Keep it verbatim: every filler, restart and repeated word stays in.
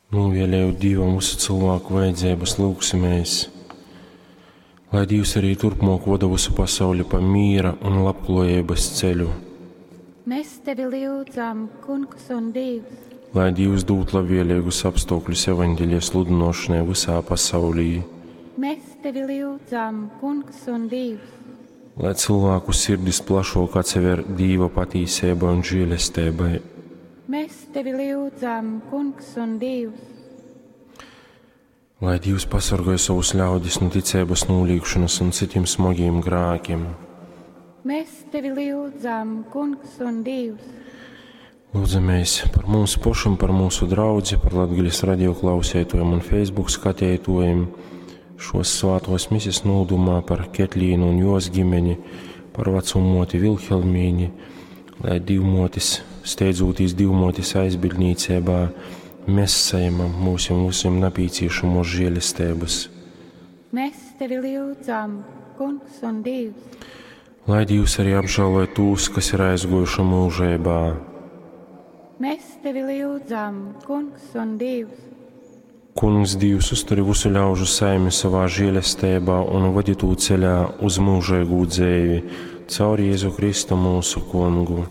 Nūvēlējot Dīvam visu cilvēku vajadzības, lūgsimies, lai Dievs arī turpmāk vada visu pasauli pa mīra un labklājības ceļu. Mēs tevi lyudzam, Kungs un Dievs. Lai Dievs dod labvēlīgus apstākļus evaņģēlija sludināšanai visā pasaulī. Mēs tevi lyudzam, Kungs un Dievs. Lai cilvēku sirdis plašāk atsever Dieva patīsībai un žēlastībai. Mēs tevi lyudzam, Kungs un Dievs. Lai Dievs pasargāj savus ļaudis no ticības nolīgšanas un citiem smagiem grēkiem. Mēs tevi lyudzam, Kungs un Dievs. Lūdzamies par mums pašiem, par mūsu draudzi, par Latgales radio klausētojiem un Facebook skatētojiem, šos svātos mises nūdumā par Ketlīnu un jos ģimeni, par veco moti Vilhelmīni, lai divmotis, steidzūtīs divmotis aizbildnīcībā, mēs saņemam mūsim visiem napīciešamos žēlestības. Mēs tevi lyudzam, Kungs un Dievs. Lai Dievs arī apžēloja tūs, kas ir aizgojuši mūžībā. Mēs tevi lyudzam, Kungs un Dievs. Kungs Dievs uzturi visu ļaužu saimi savā žēlestībā un vadi tū ceļā uz mūžīgu dzēvi, caur Jēzu Kristu mūsu kungu.